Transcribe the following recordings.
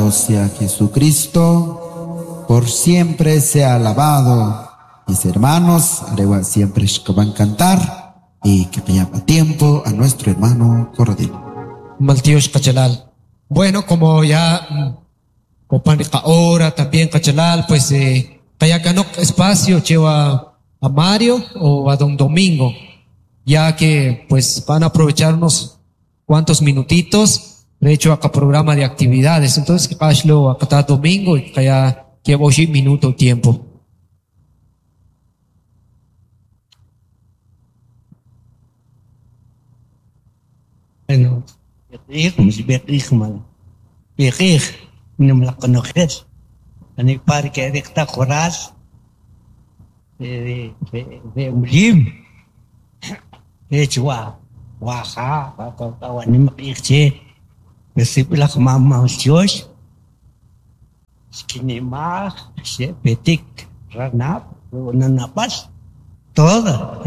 Alabado sea Jesucristo, por siempre sea alabado. Mis hermanos, Arewa siempre van a cantar y que a tiempo a nuestro hermano Corradino. Maltiosh Kachalal. Bueno, como ya Copan hora también Kachalal, pues Kayakanok espacio lleva a Mario o a don Domingo, ya que pues van a aprovechar unos cuantos minutitos, de hecho acá programa de actividades, entonces que acá domingo y kaya que minuto tiempo. Bueno, todo,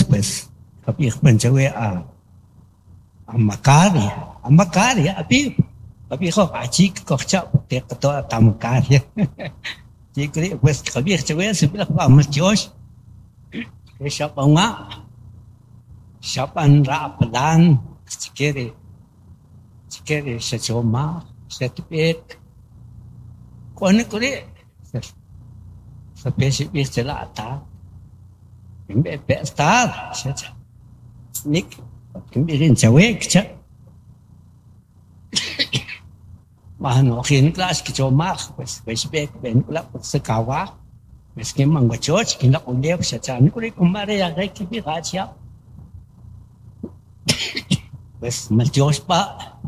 pues. Pues, a Macari, a pues, pues, pa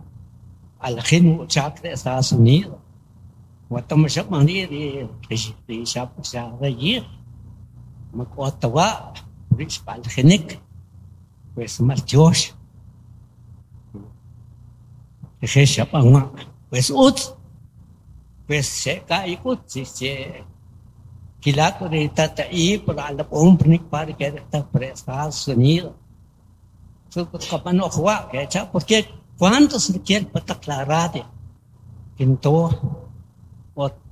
al de Estados Unidos. Pues maltiosh. Pues ut pues se cae se kilaco de tata y por la hombre para que está por Estados Unidos. Porque cuando se quiere para aclarar que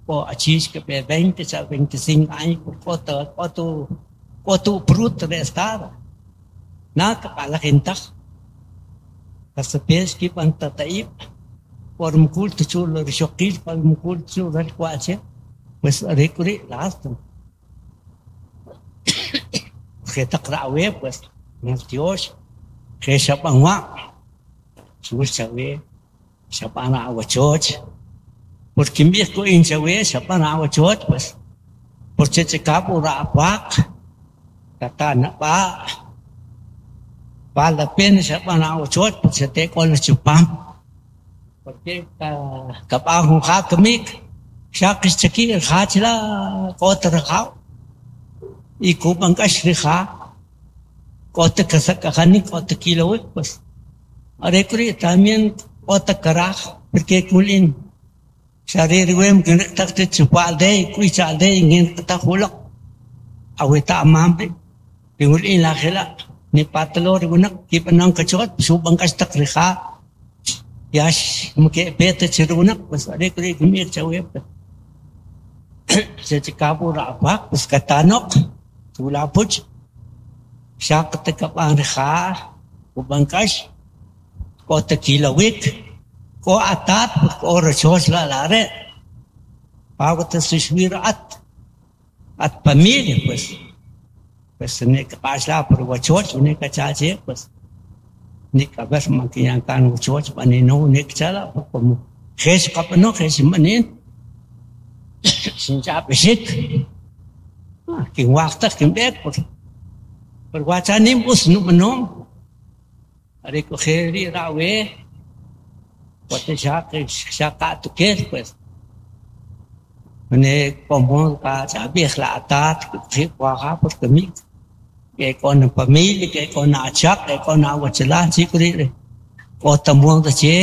o achis que 20 a 25 años por otro bruto de estado. Nada para la gente. Kasapes que van tataib por mkulto chulo rishokil por mkulto chulo cuache pues recurri last que taqra pues Dios que shapanwa suchawe shapana awachoch porque mi ko inchawe shapana awachoch pues porque chekapu ra pak tatana pa vale la pena shapana awachoch porque te con los chupam porque capaz un hakamik shakis chaki hachla kotra y kupan kashriha kota kasakani kota kilo pues arekuri también kota karaj porque kulin sharir wem que chupalde kuichalde ingin kata hulak awita amambe pingulin la khela ni patlo rigunak kipanang kachot subang kastakriha yash muke pete chirunak pues arekuri gumir chawe se chikapu rapak pues katanok tulapuch shakatakapanha ubangkash kota kilawik ko atat ko rochos la lare pagota sushmir at at familia pues pues ne kapasla por wachoch ne kachache pues ni kabas makiyan kan wachoch panino ne kchala como ges kapno ges manin sin chapishik kin waqta kin bek por por wachanim us no no recoger rawe pote shaka tukel pues ne como ka chabih la atat que waha porque mi que con familia que con achak que con awachala chikuri o tamuang de che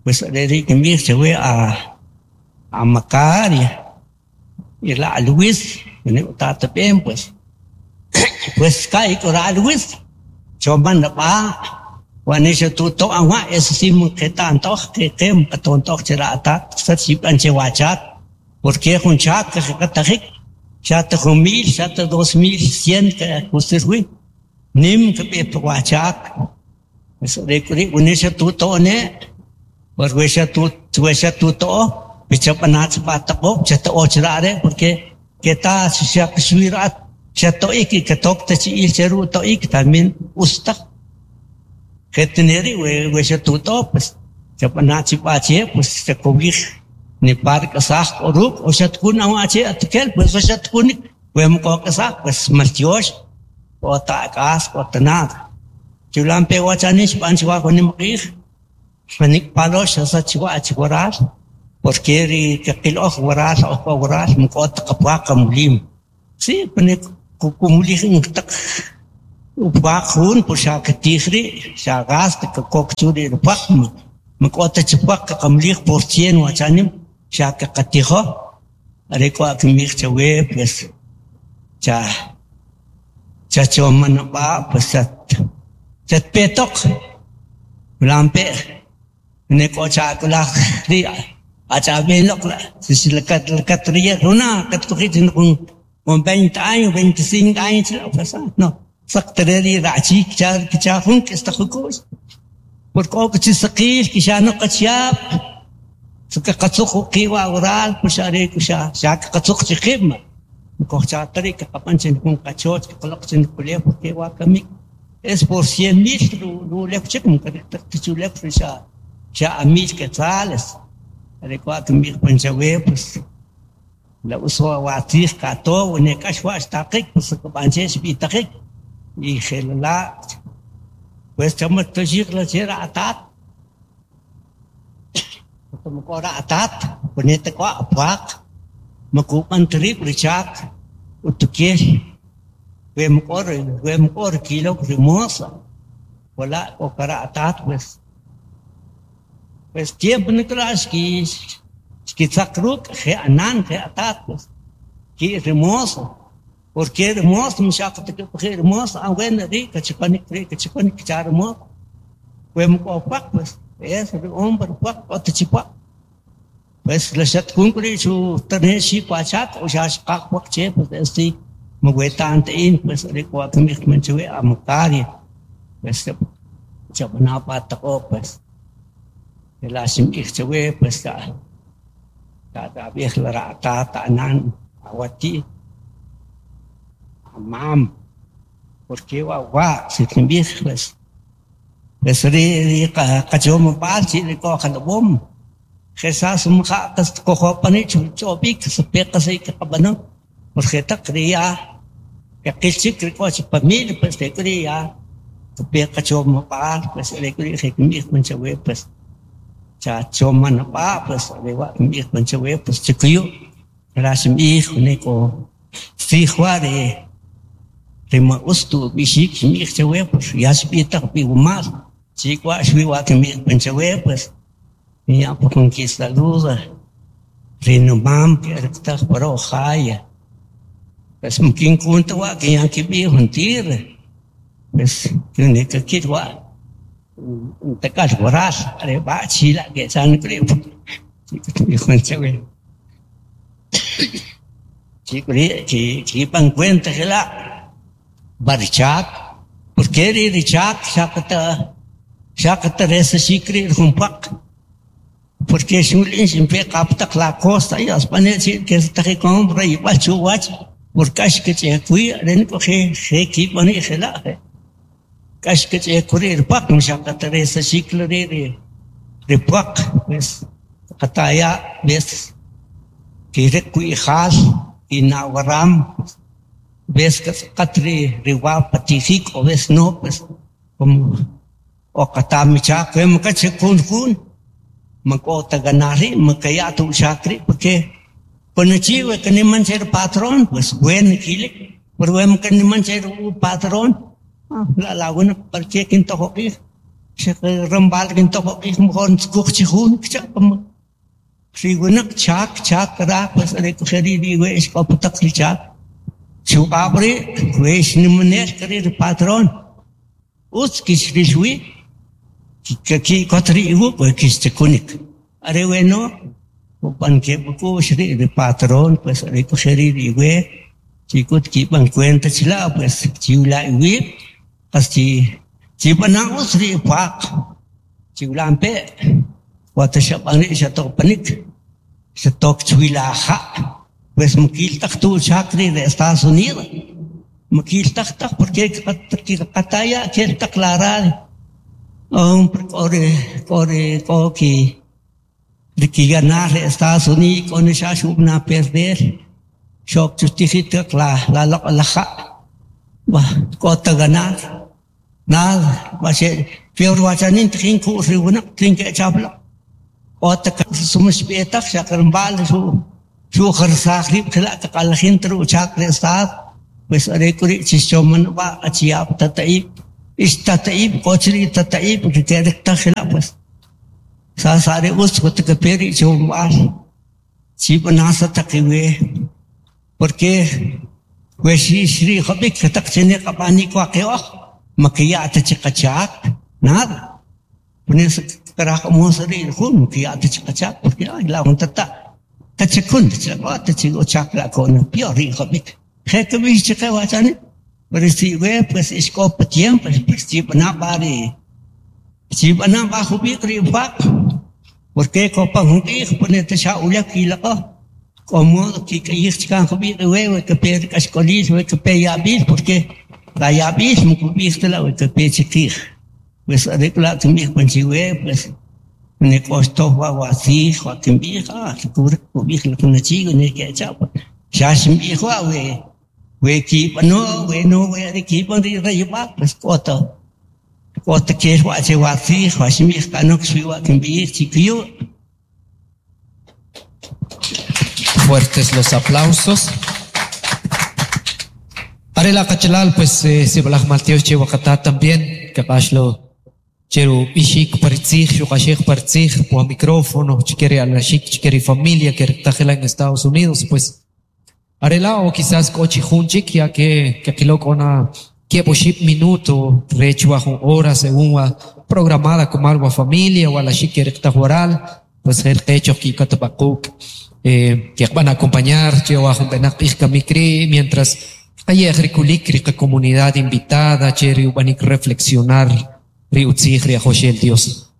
pues le que mi se ve a Macaria y la Luis ne tata bien pues pues kai ko ra Luis choman na pa Wanisha tu to awa es sim que tanto que que tonto chera ta sat che wachat porque jun chat que katajik chat 1000 chat 2100 que kusirwi nim que pe wachat es rekuri unisha tu to ne por tu wesha tu to pichapanach patako chat o chrare porque que ta shak shwirat chat to ik que tok te chi il cheru to ik también usta que we we tu to pues chapanach pache pues se kobij ni par kasaj oruk o chat kun awa che atkel pues o chat kun we mko kasaj pues maltiosh o ta kas o tanad chulampe wachanish panchwa con mqij manik palosh asa chwa chwaral porque ri kaqil oj waral oj waral mko tqapwa qamulim sí pone kumulij taq upaq jun pues xa katijri xa gas kakok churi rpaq mko ta chpaq qamlij por cien wachanim xa kaqatijo areko akmij chawe pues cha cha chomanaba pues chat petok lampe neko cha kula ri acha benok la si la kat la katria runa kat kujit con 20 años 25 años pues no saqtreri rachi cha cha jun que está jucos porque o que saqil que ya no qachap suka qatsuq qiwa oral pues are kusha sha qatsuq chiqima ko cha tari que qapanchin kun qachot que qaloq chin kule porque wa kamik es por 100 mil ru lek chik que chulek sha sha a mil quetzales are kwa kamik panchawe pues la uso watij kato ne kashwa taqik pues panchesh bi taqik y xelala pues chamat tashiq la chera atat tumkora atat ponete kwa apaq makupan trip richak utukel we mkor kilo rimosa wala okara atat pues pues tiempo niklas ki ki tsakruk je anan je atat pues ki rimosa porque hermoso mshaqta que hermoso ah bueno rica chipanik rica chipanik charmo we mkopak pues es hombre pak ot chipa pues la chat kun kuri chu tane shi pachat o shash qaq pak che pues esti mugweta ante in pues rico akamik manchwe amukari pues chabana patako pues el asim ichwe pues ta ta ta la rata ta nan awati mam porque wa wa si timbij pues pues ri ri qachom pal chi ri ko khalbom Jesás mja qas kojo pani chu chobik se peqa se qabano porque taqriya qilchik ri ko chi pamil pues de kriya peqa chom pal pues ri kri je manchawe pues cha choman pa pues ri wa mi manchawe pues chikuyu rasim ij ne ko fijwa de rima ustu bishik mi chawe pues ya spita pi umal chikwa shwi wa que mi manchawe pues ya por que saluda rinomam que está por ojaya pues mkin kunta wa que ya que bi huntir pues tiene que kirwa takal waral are ba chila que san creo chico chi chi pan cuenta que la barchak porque ri richak shakata shakata resa shikri humpak porque shulin simpe kaptak la costa y aspane que está que compra y pachu wach porque ash que che kui ren ko je je ki pani jela kash que che kuri pak shakata resa shikla ri ri pak pues kataya ves que kui khal inawaram ves que katri riwa patijik o ves no pues como o katami chak makache kun kun makota ganari makaya tu chakri porque conocí que ni man ser patrón pues buen kile pero que ni man ser patrón la la buena porque quinto hoki se rambal quinto hoki mejor skuk chihun cha Rigunak chak chak ra pues re kushari rigue es kaputak chak Chupabre, pues ni maner kari patrón. Us kis rishwi Ki kotri iwu pues kixchakunik. Are bueno, pan que ri patrón pues are kuxeri iwe chikut ki ban cuenta chila pues chiula iwi pas chi chibana us ri paq chiulampe wata xab'ani xatoqpanik xatok chwilaja pues mukil taq tu chakri de Estados Unidos mukil taq taq porque qataya kel taq la ore ore koki de que ganar Estados Unidos con esa shubna perder shok chustijita la la la la ja va kota ganar nada va ser peor wachanin tjin ku riuna tjin que chabla kota sumus betak shakarmbal su su kharsakh khla taqalhin tru chak de estad pues are kuri chichoman va achiap tataib istataib kochri tataib que te takhla pues sa sare us ko te peri chombal chibnasa taqiwe porque we shi shri khabik tak chene qabani kwa qewah makiyata chiqachak nada pones karaj mosri khun makiyata chiqachak porque ay la untata tachakun tachakwa tachigo chakla con piori khabik khekbi chiqewa chani pero si we pues iskop tiempo pues chibna bari chibna ba khubik ri pak porque copa hunqij ponete shaulak ilaqa como que que khubik we que per kashkolis we que pe yabil porque la yabil mukubik la we que pe chiqij pues arregla tumij panchiwe pues ne costo wa wasi wa kimbij ah kubre kubij la kunachigo ne que chapa shashmbij wa we we ki no we no we de ki pon ri rayba pues kota kota que wa che wasi wa shmij kanok shwi wa kimbij chikiyo. Fuertes los aplausos. Arela Cachalal, pues si balaj malteo che wakata también, capashlo cheru ishik partzij, shukashik partzij, po micrófono, chiquere alashik, chiquere familia que tajela en Estados Unidos, pues arela o quizás kochi junchik, ya que aquilo con que poship minuto, recho hora según programada como algo a familia o a la chique waral, pues el hecho que katabakuk que van a acompañar, chewa mientras hay rica comunidad invitada, cheri ubanik reflexionar, riutzij, riajoshel Dios.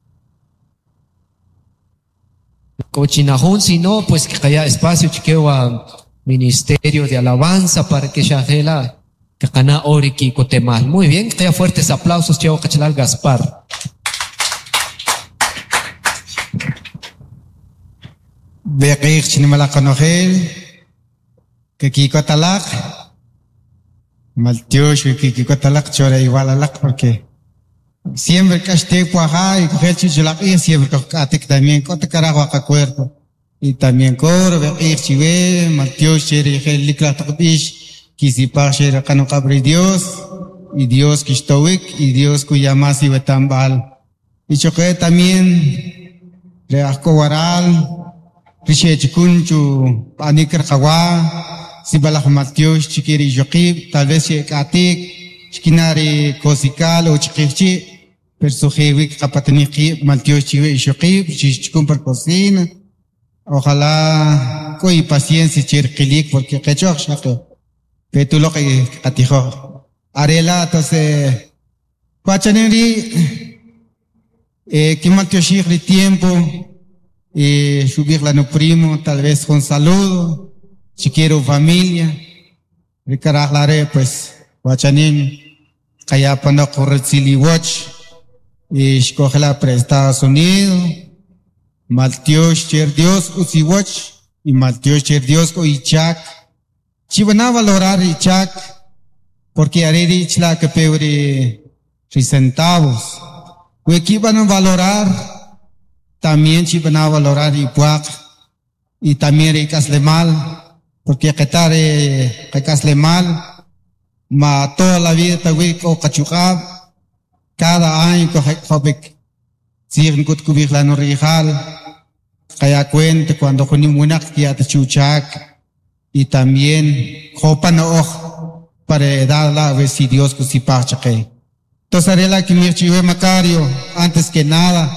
Cochinajun, si no, pues que haya espacio, chiquewa ministerio de alabanza para que shajela, que cana oriki cotemal. Muy bien, que haya fuertes aplausos, chewa cachalal Gaspar. Beqij chinimalakanojel, que kikotalak, maltiosh que kikotalak chora igual alak porque siempre que esté cuaja y coger chicholak y siempre que atek también cote carajo a cuerpo y también coro beqij chive maltiosh chere likla taqbish kisipaj chere kano qabri Dios y Dios kishtowik y Dios kuyamasi wetambal y choque también reajko waral Richechkunchu, panikar kawa, sibalaj maltiosh, chikiri yoqib, tal vez atik, chikinari kosikal o chikichi, persujiwik kapataniqi, maltiosh chiwe yoqib, chichkun por cocina. Ojalá coi paciencia chirquilik, porque quechoq shaqo, petuloq qatijo. Arela, entonces, cuachaneri, que maltioshij ri tiempo, subirla no primo, tal vez con saludo, si quiero familia, ricarajlare, pues, guachanin, kayapano corretziliwach, y escogela para Estados Unidos, maltiosh cher Dios, usiwach, y maltiosh cher Dios, o ichak, chivana valorar ichak, porque areri ichla que peuri, centavos, huequiban valorar, también chivan a valorar y puak y también ricasle mal porque quetare ricasle mal ma toda la vida tawik o cachucab cada año coge sign kut kubij la no rijal kaya cuente cuando junim winak ya te chuchak y también jopa no oj para darla a ver si Dios kusipach chake. Entonces arela kimirchiwe Macario, antes que nada,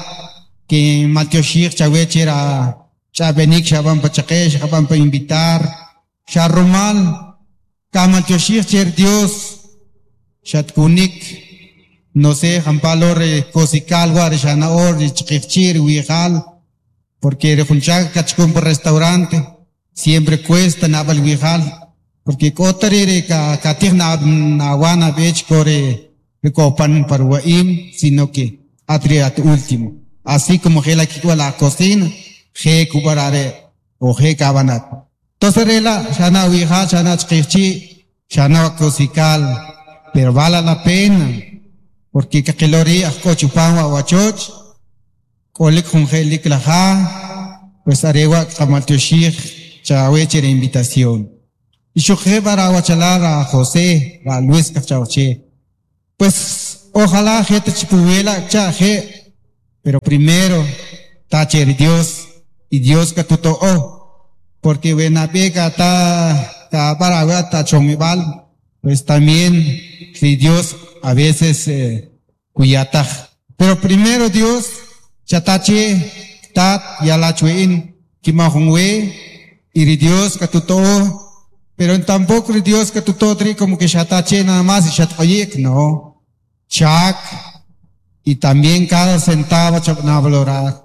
que Maltioshir Chawechera, Chabenik Shaban Pachaque, Shaban pa invitar, Sharumal, Kamaltioshir Cher Dios, Shatkunik, no sé, Jampalore, Kosical, Shanaor, Chichir, Wijal, porque Rejunchak, Cachcún por restaurante, siempre cuesta Nabal Wijal, porque Kotarere, Katir Nawana Bech, Core, Recopan Parwaim, sino que Atriat último. Así como Gela Kikwa la cocina, Ge Kubarare, o Ge Kabanat. Entonces, Rela, Shana Wijal, Shana Chichi, Shana Kosical, pero vale la pena, porque Kakilori, Akochupan, Wachoch, Kolik Jungelik Laja, pues Arewa, Kamaltoshir, Chaweche la invitación. Y yo para Wachalar a José, a Luis Cachauche. Pues ojalá gente chipuela, chaje, pero primero, tacher Dios, y Dios que tuto oh, porque buena pega ta, ta para ta chomibal, pues también si Dios a veces cuyataj. Pero primero Dios, chatache, tat, yalachuin, kimahungwe, y Dios que tuto, pero tampoco Dios que tuto tri como que chatache nada más y chatoyek, no. Chak, y también cada centavo chapna valorar.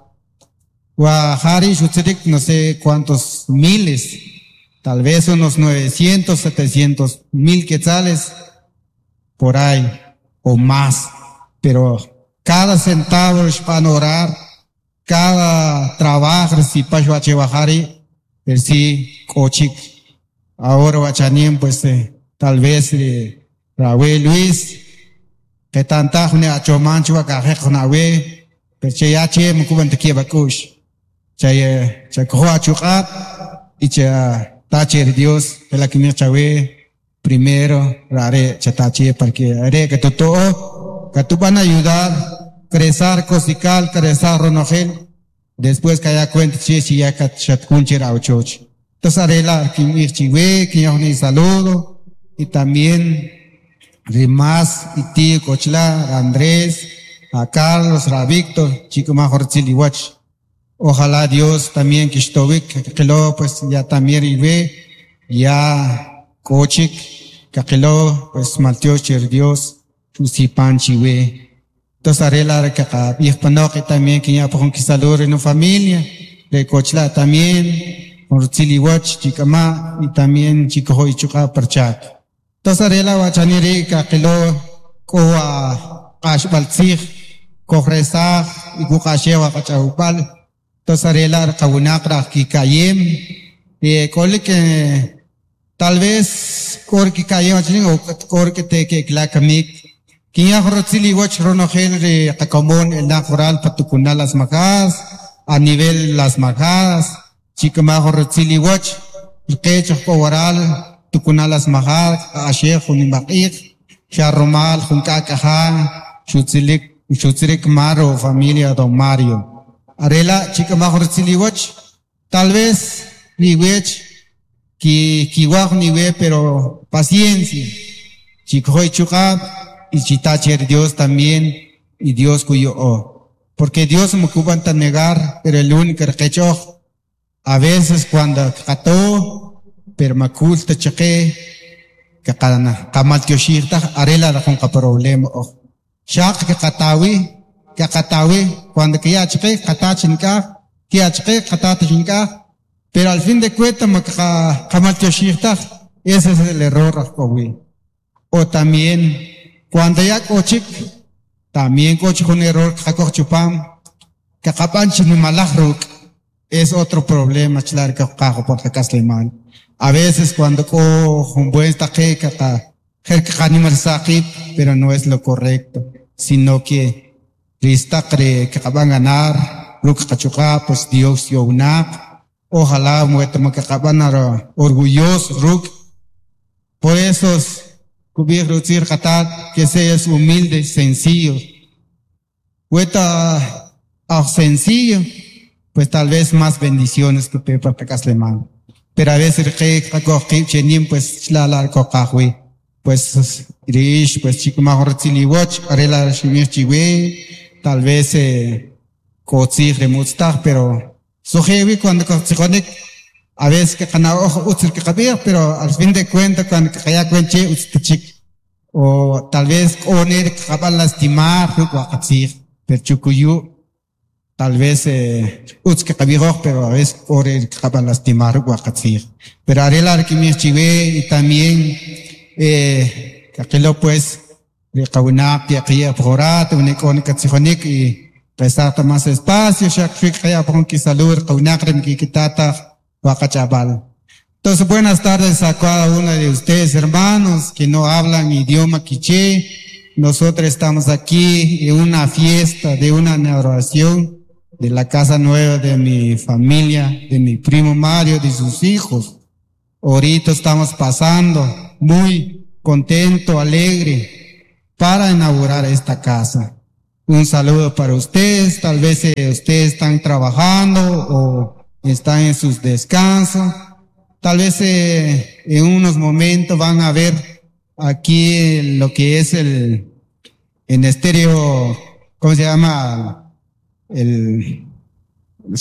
Guajari, Shutzirik, no sé cuántos miles, tal vez unos 900, 700 mil quetzales, por ahí, o más. Pero cada centavo es para orar, cada trabajo, si pashuache bajari, el sí, cochic. Ahora guachanín, pues, tal vez, Raúl Luis, que tanta june achomanchu akaje junawe, pero che ya che mkuban te kieba kush. Che che cojo achuqat y che tache Dios, que la que chawe primero rare che tache porque are que todo que tú van a ayudar crecer cosical, crecer ronogel, después que haya cuenta che si ya chat kuncher auchoch. Entonces arela que mi chiwe que yo ni saludo y también Rimas y tío Cochla, Andrés, a Carlos, a Víctor, chico major Tziliwach. Ojalá Dios también que estoy, que lo pues ya también y ve, ya Kochik, que lo pues maltiocher Dios, Chusipan chiwe. Entonces arela que acá, y también que ya por que salud en familia, de Cochla también, por Tziliwach, chicama, y también chico hoy chuka perchak. Entonces arela wachaniri kakilo koa kashbaltzig kohresaj y kukashewa kachaupal. Entonces arela kawunakra kikayem y kole que tal vez kor kikayem wachani o kor que te que klakamik. Kinya jorotzili wach ronogel re kakomon el najoral patukunal las majas a nivel las majas chikama jorotzili wach el quecho kowaral tukunalas mahal, ashe junimaqik, charromal, junkakaja, chutzilik, chutzilik maro, familia don Mario. Arela, chica major tziliwach, tal vez, ni wech, ki, kiwaj ni we, pero paciencia. Chicoy chuka, y chitacher Dios también, y Dios cuyo o. Porque Dios me cubanta negar, pero el único que a veces cuando cató, pero maculta cheque que cada kamal tioshirta arela da con problema o shaq que katawi cuando que ya cheque katachinka que ya cheque katachinka pero al fin de cuentas kamal tioshirta ese es el error o también cuando ya kochik también kochik un error chupam que kapan chinimalajruk es otro problema chlar que cajo por la. A veces cuando cojo un buen taque, pero no es lo correcto, sino que ristacre que van a ganar, ruk pues Dios yo una, ojalá muerto que van a orgulloso ruk. Por eso, cubrir que seas humilde, sencillo. Hueta sencillo, pues tal vez más bendiciones que pepa pecasleman. Pero a veces que pues la. Pues rish pues chikmaj ritziliwach arela shimir chiwe tal vez kotzij remutztaj pero sojewi cuando kotzijonik a veces que kana ojo utzil que kabir pero al fin de cuentas cuando kaya cuenche utztichik o tal vez oner kabal lastimar rukwakatzij pero chukuyu tal vez utz que kabiroj pero a veces ore kabal lastimar rukwakatzij pero arela kimir chiwe y también kakilo pues riqawinaq yaqiya pjorat unik katzijonik y rezar más espacio shak kaya pon kisalur qawinaq rimkikitata wakachabal. Entonces buenas tardes a cada uno de ustedes hermanos que no hablan idioma quiché. Nosotros estamos aquí en una fiesta de una inauguración de la casa nueva de mi familia, de mi primo Mario, de sus hijos. Ahorita estamos pasando muy contento, alegre, para inaugurar esta casa. Un saludo para ustedes, tal vez ustedes están trabajando o están en sus descansos. Tal vez en unos momentos van a ver aquí lo que es el, en estéreo, ¿cómo se llama?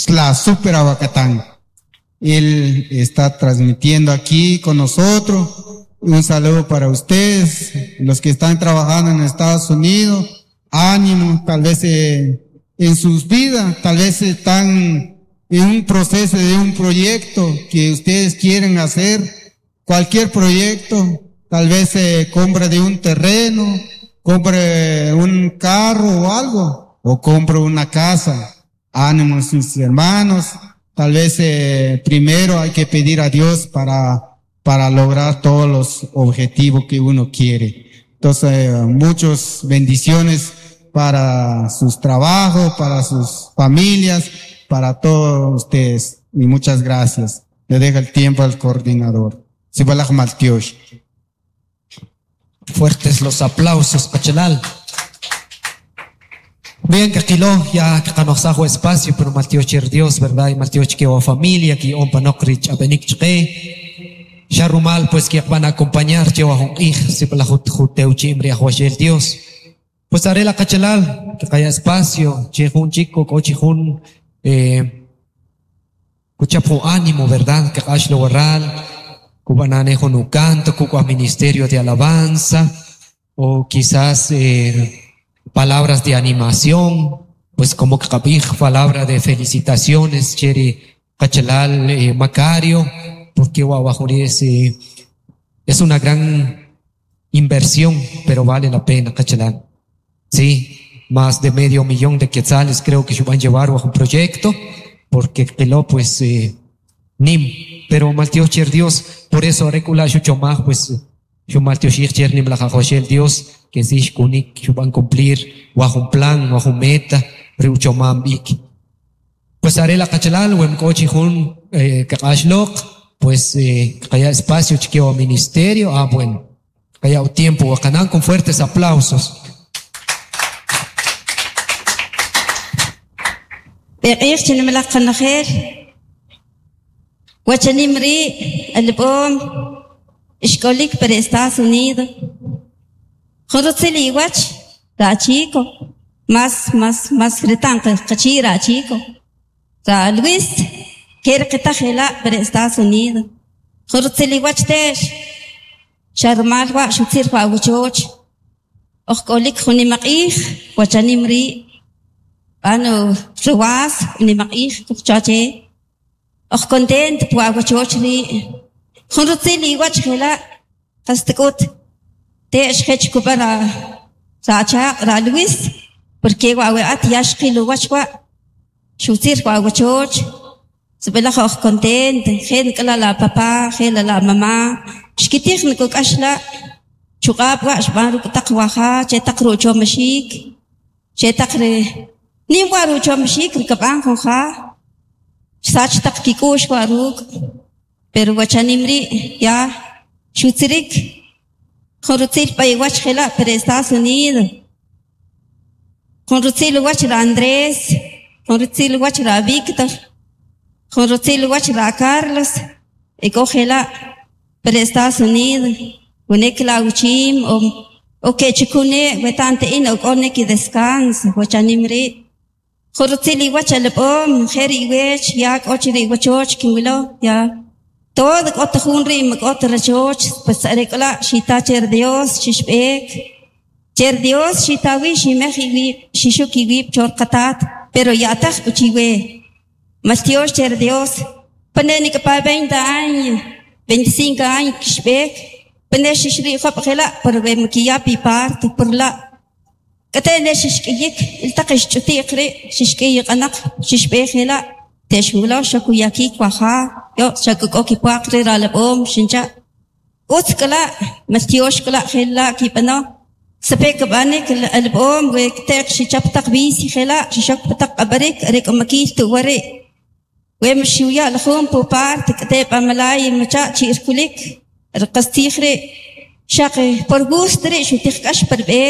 La Super Aguacatán. Él está transmitiendo aquí con nosotros. Un saludo para ustedes, los que están trabajando en Estados Unidos. Ánimo, tal vez en sus vidas, tal vez están en un proceso de un proyecto que ustedes quieren hacer, cualquier proyecto, tal vez compra de un terreno, compre un carro o algo, o compre una casa. Ánimo, sus hermanos, tal vez primero hay que pedir a Dios para lograr todos los objetivos que uno quiere. Entonces, muchas bendiciones para sus trabajos, para sus familias, para todos ustedes. Y muchas gracias. Le dejo el tiempo al coordinador. Sibalaj Maltiosh. Fuertes los aplausos, Pachelal. Bien, que aquilo ya que kanosajo espacio, pero Maltioch Dios, ¿verdad? Y Maltioch que o familia, que ompa nokrich abenik chke. Sharumal, pues que van a acompañar, lleva un hij, si la juteuchi imri ahuashel Dios. Pues haré la cachelal, que haya espacio, che un chico, cochi un, cuchapo ánimo, ¿verdad? Que ashlo warral, cubananejo no canto, cuco ministerio de alabanza, o quizás, palabras de animación, pues como que cabij, palabra de felicitaciones, cheri, cachelal, Macario, porque Guaguajurí es una gran inversión, pero vale la pena, cachelal. Sí, más de 500,000 de quetzales creo que se van a llevar bajo un proyecto, porque queló pues nim, pero maltiocher Dios, por eso recula chomaj, pues yo maltiocher nim la jajoshel Dios, que si kunik van a cumplir bajo un plan, bajo un meta, reuchomam ik. Pues haré la cachelal, wem kochi jun kakashlok, pues kaya espacio chiqueo ministerio, ah bueno, kaya tiempo, wakanán con fuertes aplausos. بقيش نملق النخير وشنمري البوم إشكوليك per Estados Unidos خرطلي وش راتشيكو ماس ماس ماس رتان قشي راتشيكو را لويس كير قتخلا per Estados Unidos خرطلي وش تيش شرمال وا شو تصير وشوش أخكوليك خني مقيخ وشنمري Ano, ruwas, ni makih, tukchache. Och content, puaguachochri. Junrutzili, guachela, kastikut. Te eshech kubara, racha, ra Luis, porque guaguat yashkilu guachwa. Shutir guaguachoch. Sibela och content, gen kala la papá, gen la mamá. Shkitich nikuk ashla. Chukab guash baruk takwaha, che takru chomashik. Che takre. Nim waru chomshik rikaban jonja sach tak kikush waruk pero wachanimri ya shutzirik jorutzil pay wachjela pero Estados Unidos jorutzil wachra Andrés jorutzil wachra Víctor jorutzil wachra Carlos ekojela pero Estados Unidos Wene klauchim o ke chikune wetante in o k'one ki descanso wachanim ri' jun rutzil iwach alab'om jer iwech ya k'o chi ri iwachoch kinwilo ya todo k'o ta jun ri' ma k'o ta rachoch pues are k'o la' xita cher Dios xixb'eek cher Dios xitawi ximej iwib' xixuk iwib' chor qatat pero ya'taj uchiwe maltiox cher Dios pane nik'pa 20 años 25 años kixb'eek pane xixri'job' jela' por we makiya pi parte por la k'ate ne xixk'iyik iltaq ixch'uti'q ri' xixk'iyiq'anaq xixb'eek jela' texwilo xakuyakik waja yo xak'uk'o kipuaq ri ralab'om xincha' utz k'la' maltiox k'la' jela' kib'ano sape kib'anik alb'om we kteq xichap taq bici jela' xixok taq q'ab'arik are k'o makiil tuwari' we mxiwya' la jun pu parte k'ate p'amalay macha' chi'irkulik rqastij ri' xaq por gusto ri' xutij k'ax par b'e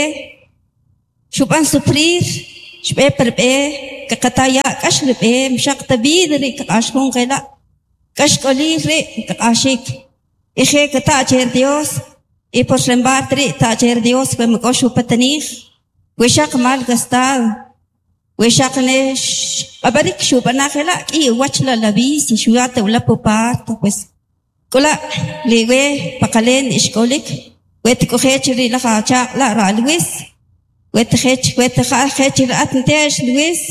xub'an sufrir xb'e par b'e kaqataya' k'ax li b'e mxaq ta vida ri' kaq'ax jun jela' k'ax k'olil ri' kaq'axik ije kata' cher Dios y por rembat ri' ta' cher Dios we mak'o xupatanij we xaq mal gastado we xaq ne q'ab'arik xub'ana jela' k'i uwach la la bici xuyata ula pu parte pues k'ola' liwe paqalen ixk'olik we tk'ujech ri' laj achaaq' la' ra' Luis we tjech we tja'al jech ra'at nte'x Luis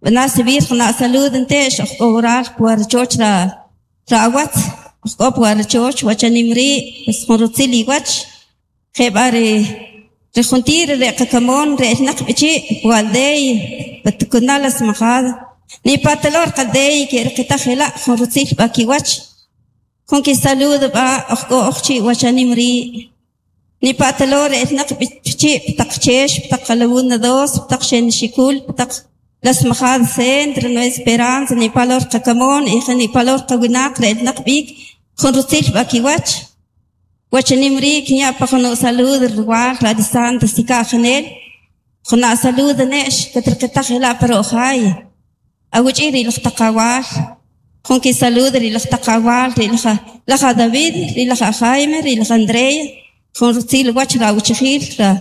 b'ana subir jana' salud nte'x ojk'o oral puarchoch ra awatz ojk'o puarchoch wachanim ri' pues jun rutzil iwach jeb'a ri juntir re qakamon re elnaq b'ichi' pualdey patukunal las majada ni patalor qaldey ke riqitaj jela' jun rutzil b'a kiwach jun kisaludo b'a ojk'o ojchi' wachanim ri' ni patalor elnaq b'ichi' ptaq chex ptaq qalawuna dos ptaq xenxikul ptaq las majadas centro Nueva Esperanza ni palor qakamon y ni palor qawinaq re elnaq b'ik jun rutzil b'a kiwach wachanim ri' kinya' pa jun salud rwal ra Santa sika janel jun salud ne'x katriqitaj jela' par ojay awuch'i ri laj taqawal jun kisalud ri laj taqawal ri laj David ri laj Jaime ri laj Andrea jun rutzil wach ra awchijil ra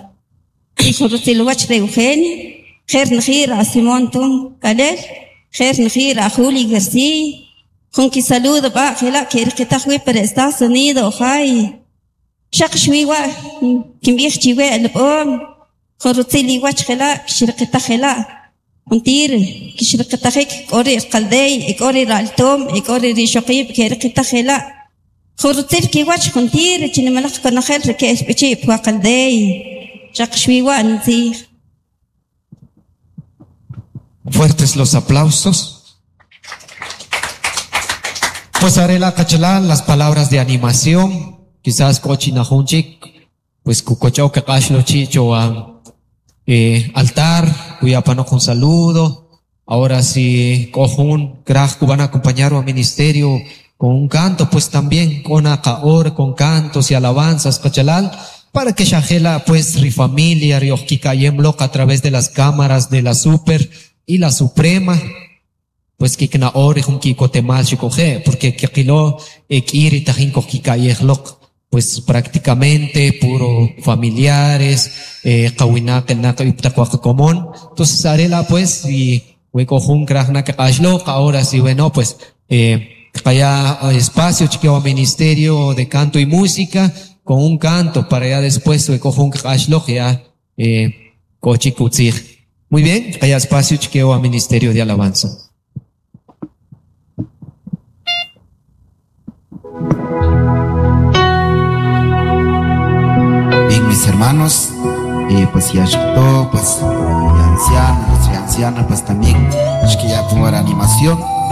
jun rutzil wach ra Eugenia jer nji ra Simón Tum Kalel jer nji ra Juli García jun kisalud b'a jela' keriqitaj wi par Estados Unidos ojay xaq xwiwa kinb'ij chiwe alb'om jun rutzil iwach jela' kixriqitaj jela' juntir kixriqitajik k'o ri' qaldey k'o ri ra'altom k'o ri rixoqib' keriqitaj jela' jun rutzil kiwach juntir chinimalaj konojel ri ke'l b'ichi' pwa qaldey xaq xwiwa ntzij. Fuertes los aplausos. Pues haré la cachalán las palabras de animación. Quizás kochinajunchik, pues kukochao que kashlo chicho a altar, kuyapano con saludo. Ahora si cojun, kraj van a acompañar al ministerio con un canto, pues también con akaor, con cantos y alabanzas, cachalal, para que shajela, pues, ri familia, ri ojkikayem a través de las cámaras de la super y la suprema, pues que kna ori jun kikotemal xikoje, porque kilo ekiri tajin kojkikayejlok, pues prácticamente puro familiares, kawinaq el común. Entonces arela pues y huecojun krajna que ahora sí bueno pues kaya espacio chiqueo ministerio de canto y música con un canto para ya después huecojun krajlok ya kochikutzij. Muy bien, kaya espacio chiqueo ministerio de alabanza. Bien, mis hermanos, pues ya llegó, pues ya anciano, pues ya anciana, pues también es que ya pongo la animación.